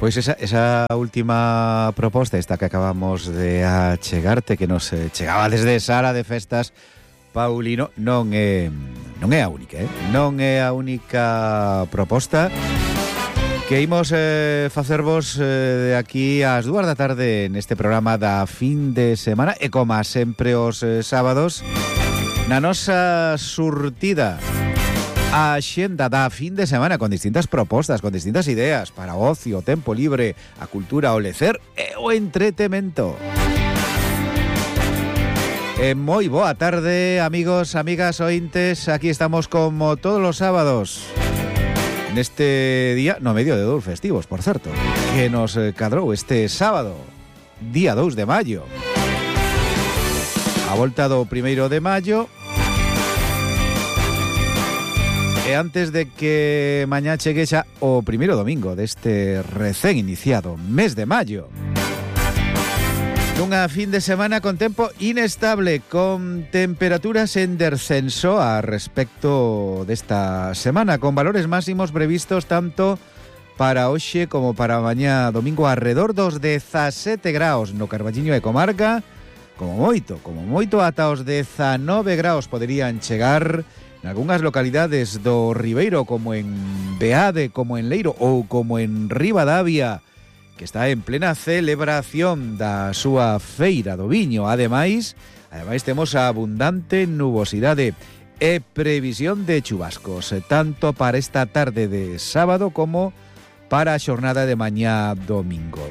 Pois esa última proposta, esta que acabamos de achegarte, que nos chegaba desde Sala de Festas Paulino, non é a única, non é a única proposta que imos facervos de aquí ás 2 da tarde neste programa da fin de semana e como sempre os sábados na nosa surtida a xenda da fin de semana con distintas propostas, con distintas ideas para o ocio, o tempo libre, a cultura, o lecer e o entretemento. Moi boa tarde, amigos, amigas, ointes. Aquí estamos como todos los sábados neste día, no medio de 2 festivos, por certo, que nos cadrou este sábado, día 2 de maio. A volta do 1º de maio. E antes de que mañá chegue xa o primeiro domingo deste recén iniciado mes de maio, nunha fin de semana con tempo inestable, con temperaturas en descenso a respecto desta semana, con valores máximos previstos tanto para hoxe como para mañá domingo alrededor dos 17 graus no Carballiño e comarca, como moito ata os 19 graus poderían chegar nalgunhas localidades do Ribeiro, como en Beade, como en Leiro ou como en Ribadavia, que está en plena celebración da súa feira do viño. Ademais temos a abundante nubosidade e previsión de chubascos, tanto para esta tarde de sábado como para a xornada de mañá domingo.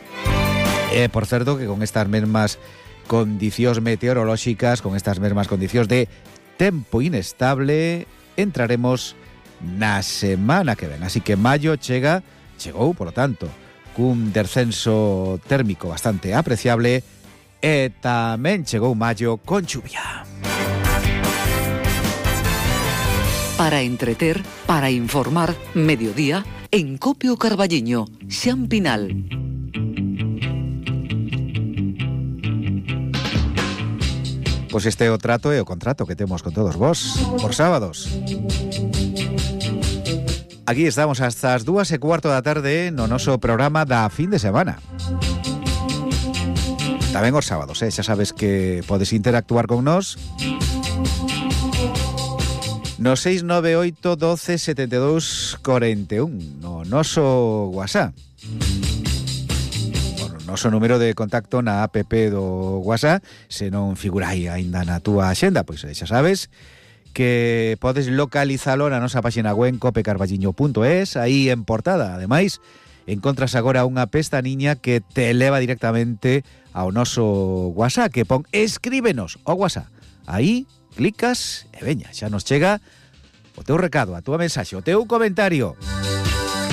E, por certo, que con estas mesmas condicións meteorolóxicas, con estas mesmas condicións de tempo inestable, entraremos na semana que ven. Así que maio chegou, por lo tanto, cun descenso térmico bastante apreciable e tamén chegou maio con chuvia. Para entreter, para informar, mediodía, en Copio Carballiño, Xan Pinal. Pois este é o trato e o contrato que temos con todos vos por sábados. Aquí estamos hasta as 2:15 da tarde no noso programa da fin de semana. Tamén os sábados, xa sabes que podes interactuar con nós no 698 12 72 41 no noso WhatsApp. Noso número de contacto na app do WhatsApp, se non figura aí aínda na túa axenda, pois xa sabes que podes localizalo na nosa página web copecarballiño.es, aí en portada. Ademais, encontras agora unha pestaniña que te eleva directamente ao noso WhatsApp, que pon escríbenos ao WhatsApp. Aí clicas e veña, xa nos chega o teu recado, a túa mensaxe, o teu comentario.